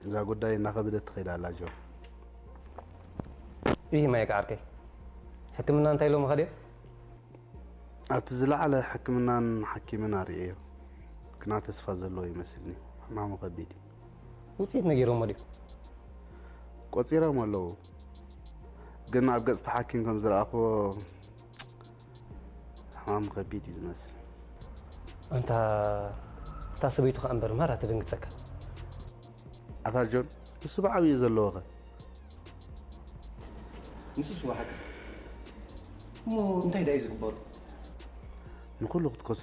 እዛ ጉዳይ እናኸበደት ትኸይድ ኣላ ጆን። ይህ ማየቅ ዓርከይ ሕክምና እንታይ ኢሎም ኸድዮም? ኣብቲ ዝለዓለ ሕክምናን ሓኪምን ኣርእየዮ፣ ግና ተስፋ ዘለዎ ይመስልኒ። ሕማሙ ከቢድ እዩ። ውፅኢት ነጊሮሞ ድዩ? ቆፂሮም ኣለዉ፣ ግን ኣብ ገፅቲ ሓኪም ከም ዝረኣኽዎ ሕማሙ ከቢድ እዩ ዝመስል። ኣንታ እታ ሰበይቱ ከኣ እምበር ማራ ትድንግፀካ። ኣታ ጆን፣ ንሱ ብዓብዩ ዘለዎኸ? ንሱስ ወሓቂ። እሞ እንታይ ደኣ እዩ ዝግበሩ? ንኹሉ ክትከስሮ